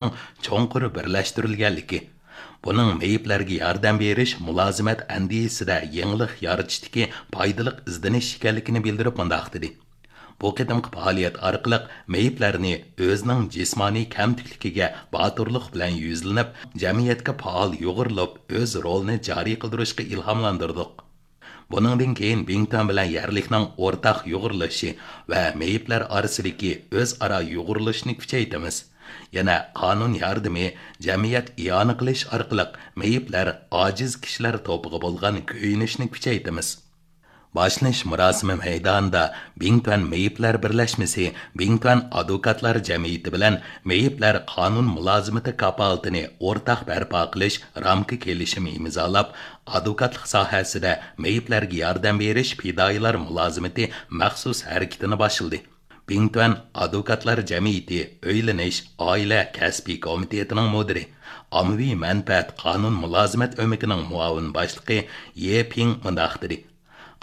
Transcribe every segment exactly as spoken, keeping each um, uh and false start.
چوڭقۇر بىرلەشتۈرۈلگەنلىكى، بۇنىڭ مېيىپلەرگە ياردەم بېرىش مۇلازىمەت ئەندىزىسىدە يېڭىلىق يارىتىشتىكى پايدىلىق ئىزدىنىش ئىكەنلىكىنى بىلدۈرۈپ مۇنداق دېدى: بۇ قېتىمقى پائالىيەت ئارقىلىق مېيىپلەرنى ئۆزىنىڭ جىسمانىي كەمتۈكلۈكىگە باتۇرلۇق بىلەن يۈزلىنىپ، جەمئىيەتكە پائال يۇغۇرۇلۇپ، ئۆز رولىنى جارى قىلدۇرۇشقا ئىلھاملاندۇردۇق. بۇنىڭدىن كېيىن بىڭتۈەن بىلەن يەرلىكنىڭ ئورتاق يۇغۇرۇلۇشى ۋە مېيىپلەر ئارىسىدىكى ئۆزئارا يۇغۇرۇلۇشنى كۈچەيتىمىز. يەنە قانۇن ياردىمى، جەمئىيەت ئىئانە قىلىش ئارقىلىق مېيىپلەر، ئاجىز كىشىلەر توپىغا بولغان كۆيۈنۈشنى كۈچەيتىمىز. باشلىنىش مۇراسىمى مەيدانىدا بىڭتۈەن مېيىپلەر بىرلەشمىسى بىڭتۈەن ئادۋوكاتلار جەمئىيىتى بىلەن مېيىپلەر قانۇن مۇلازىمىتى كاپالىتىنى ئورتاق بەرپا قىلىش رامكا كېلىشىمى ئىمزالاپ، ئادۋوكاتلىق ساھەسىدە مېيىپلەرگە ياردەم بېرىش پىدائىيلار مۇلازىمىتى مەخسۇس ھەرىكىتىنى باشلىدى. بىڭتۈەن ئادۋوكاتلار جەمئىيىتى ئۆيلىنىش، ئائىلە، كەسپىي كومىتېتىنىڭ مۇدىرى، ئاممىۋى مەنپەئەت قانۇن مۇلازىمەت ئۆمىكىنىڭ مۇئاۋىن باشلىقى يې پىڭ مۇنداق دېدى: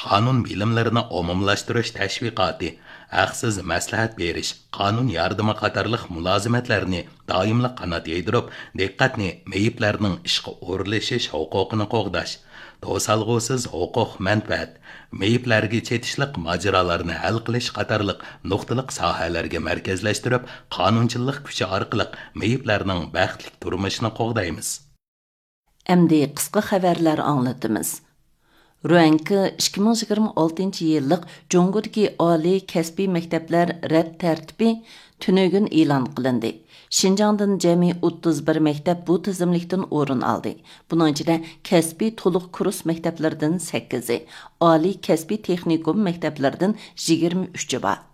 قانۇن بىلىملىرىنى ئومۇملاشتۇرۇش تەشۋىقاتى، ھەقسىز مەسلىھەت بېرىش، قانۇن ياردىمى قاتارلىق مۇلازىمەتلەرنى دائىملىق قانات يايدۇرۇپ، دىققەتنى مېيىپلەرنىڭ ئىشقا ئورۇنلىشىش ھوقۇقىنى قوغداش، توسالغۇسىز ھوقۇق مەنپەئەت، مېيىپلەرگە چېتىشلىق ماجىرالارنى ھەل قىلىش قاتارلىق نۇقتىلىق ساھەلەرگە مەركەزلەشتۈرۈپ، قانۇنچىللىق كۈچى ئارقىلىق مېيىپلەرنىڭ بەختلىك تۇرمۇشىنى قوغدايمىز. ئەمدى قىسقا خەۋەرلەر ئاڭلىتىمىز. رۇەنكې ئىككى مىڭ يىگىرمە ئالتىنچى يىللىق جۇڭگودىكى ئالىي كەسپىي مەكتەپلەر رەت تەرتىپى تۈنۈگۈن ئېلان قىلىندى. شىنجاڭدىن جەمئىي ئوتتۇز بىر مەكتەپ بۇ تىزىملىكتىن ئورۇن ئالدى. بۇنىڭ ئىچىدە كەسپىي تولۇق كۇرس مەكتەپلىرىدىن سەككىزى، ئالىي كەسپىي تېخنىكوم مەكتەپلىرىدىن يىگىرمە ئۈچى بار.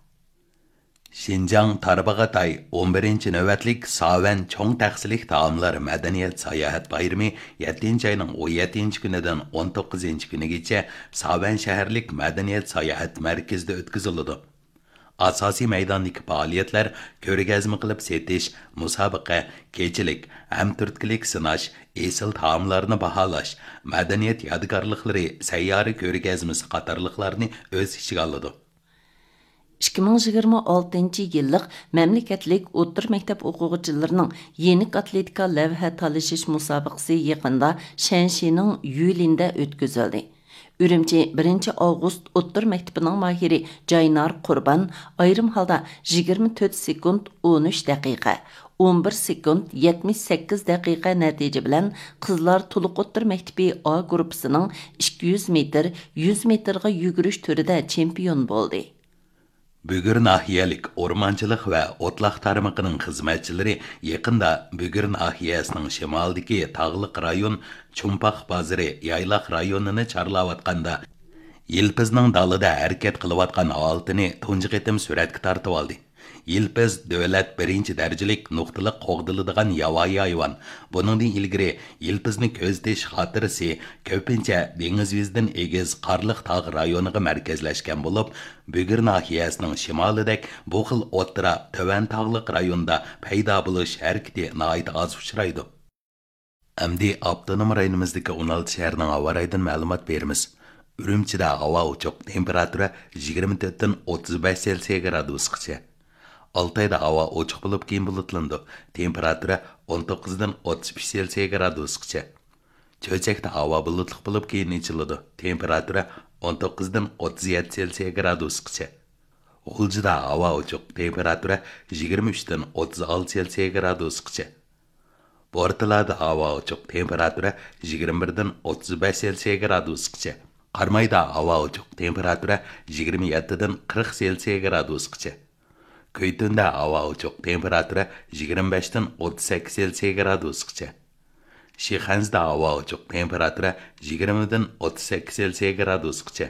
شىنجاڭ تارباغاتاي ئون بىرىنچى نۆۋەتلىك ساۋەن چوڭ تەخسىلىك تائاملار مەدەنىيەت ساياھەت بايرىمى يەتتىنچى ئاينىڭ ئون يەتتىنچى كۈنىدىن ئون توققۇزىنچى كۈنىگىچە ساۋەن شەھەرلىك مەدەنىيەت ساياھەت مەركىزىدە ئۆتكۈزۈلىدۇ. ئاساسىي مەيداندىكى پائالىيەتلەر كۆرگەزمە قىلىپ سېتىش، مۇسابىقە، كېچىلىك، ھەمتۈرتكىلىك سىناش، ئېسىل تائاملارنى باھالاش، مەدەنىيەت يادىكارلىقلىرى سەييارە كۆرگەزمىسى قاتارلىقلارنى ئۆز ئىچىگە ئالىدۇ. ئىككى مىڭ يىگىرمە ئالتىنچى يىللىق مەملىكەتلىك ئوتتۇرا مەكتەپ ئوقۇغۇچىلىرىنىڭ يېنىك ئاتلېتىكا لەۋھە تالىشىش مۇسابىقىسى يېقىندا شەنشىنىڭ يۈلىندە ئۆتكۈزۈلدى. ئۈرۈمچى بىرىنچى ئاۋغۇست ئوتتۇرا مەكتىپىنىڭ ماھىرى جاينار قۇربان ئايرىم ھالدا يىگىرمە تۆت سېكۇنت ئون ئۈچ دەقىقە، ئون بىر سېكۇنت يەتمىش سەككىز دەقىقە نەتىجە بىلەن قىزلار تولۇق ئوتتۇرا مەكتىپى ئا گۇرۇپپىسىنىڭ ئىككى يۈز مېتىر، يۈز مېتىرغا يۈگۈرۈش تۈرىدە چېمپىيون بولدى. بۈگۈر ناھىيەلىك ئورمانچىلىق ۋە ئوتلاق تارمىقىنىڭ خىزمەتچىلىرى يېقىندا بۈگۈر ناھىيەسىنىڭ شىمالىدىكى تاغلىق رايون چۇمپاق بازىرى يايلاق رايونىنى چارلاۋاتقاندا، يىلپىزنىڭ دالىدا ھەرىكەت قىلىۋاتقان ھالىتىنى تۇنجى قېتىم سۈرەتكە تارتىۋالدى. يىلپىز دۆلەت بىرىنچى دەرىجىلىك نۇقتىلىق قوغدىلىدىغان ياۋايى ھايۋان. بۇنىڭدىن ئىلگىرى يىلپىزنى كۆزىتىش خاتىرىسى كۆپىنچە دېڭىز يۈزىدىن ئېگىز قارلىق تاغ رايونىغا مەركەزلەشكەن بولۇپ، بۈگۈر ناھىيەسىنىڭ شىمالىدەك بۇ خىل ئوتتۇرا، تۆۋەن تاغلىق رايوندا پەيدا بولۇش ھەرىكىتى ناھايىتى ئاز ئۇچرايدۇ. ئەمدى ئاپتونوم رايونىمىزدىكى ئون ئالتە شەھەرنىڭ ھاۋا رايىدىن مەلۇمات بېرىمىز. ئۈرۈمچىدە ھاۋا ئوچۇق، تېمپېراتۇرا يىگىرمە تۆتتىن ئوتتۇز بەش سېلسىيە گرادۇسقىچە. ئالتايدا ھاۋا ئوچۇق بولۇپ، كېيىن بۇلۇتلىنىدۇ، تېمپېراتۇرا ئون توققۇزدىن ئوتتۇز ئۈچ سېلسىيە گرادۇسقىچە. چۆچەكتە ھاۋا بۇلۇتلۇق بولۇپ، كېيىن ئېچىلىدۇ، تېمپېراتۇرا ئون توققۇزدىن ئوتتۇز يەتتە سېلسىيە گرادۇسقىچە. غۇلجىدا ھاۋا ئوچۇق، تېمپېراتۇرا يىگىرمە ئۈچتىن ئوتتۇز ئالتە سېلسىيە گرادۇسقىچە. بورتالادا ھاۋا ئوچۇق، تېمپېراتۇرا يىگىرمە بىردىن ئوتتۇز بەش سېلسىيە گرادۇسقىچە. قارامايدا ھاۋا ئوچۇق، تېمپېراتۇرا يىگىرمە يەتتىدىن قىرىق سېلسىيە گرادۇسقىچە. كۈيتۈندە ھاۋا ئوچۇق، تېمپېراتۇرا يىگىرمە بەشتىن ئوتتۇز سەككىز سېلسىيە گرادۇسقىچە. شىخەنزىدە ھاۋا ئوچۇق، تېمپېراتۇرا يىگىرمىدىن ئوتتۇز سەككىز سېلسىيە گرادۇسقىچە.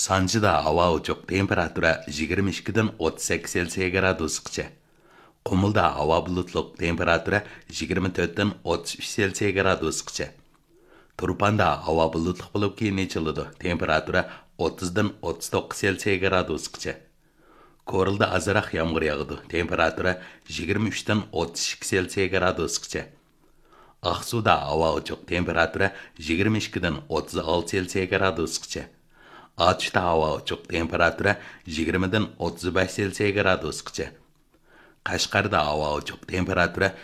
سانجىدا ھاۋا ئوچۇق، تېمپېراتۇرا يىگىرمە ئىككىدىن ئوتتۇز سەككىز سېلسىيە گرادۇسقىچە. قۇمۇلدا ھاۋا بۇلۇتلۇق، تېمپېراتۇرا يىگىرمە تۆتتىن ئوتتۇز ئۈچ سېلسىيە گرادۇسقىچە. تۇرپاندا ھاۋا بۇلۇتلۇق بولۇپ، كېيىن ئېچىلىدۇ، تېمپېراتۇرا ئوتتۇزدىن ئوتتۇز توققۇز سېلسىيە گرادۇسقىچە. كورلىدا ئازراق يامغۇر ياغىدۇ، تېمپېراتۇرا يىگىرمە ئۈچتىن ئوتتۇز ئىككى سېلسىيە گرادۇسقىچە. ئاقسۇدا ھاۋا ئوچۇق، تېمپېراتۇرا يىگىرمە ئىككىدىن ئوتتۇز ئالتە سېلسىيە گرادۇسقىچە. ئاتۇشتا ھاۋا ئوچۇق، تېمپېراتۇرا يىگىرمىدىن ئوتتۇز بەش سېلسىيە گرادۇسقىچە. قەشقەردە ھاۋا ئوچۇق، تېمپېراتۇرا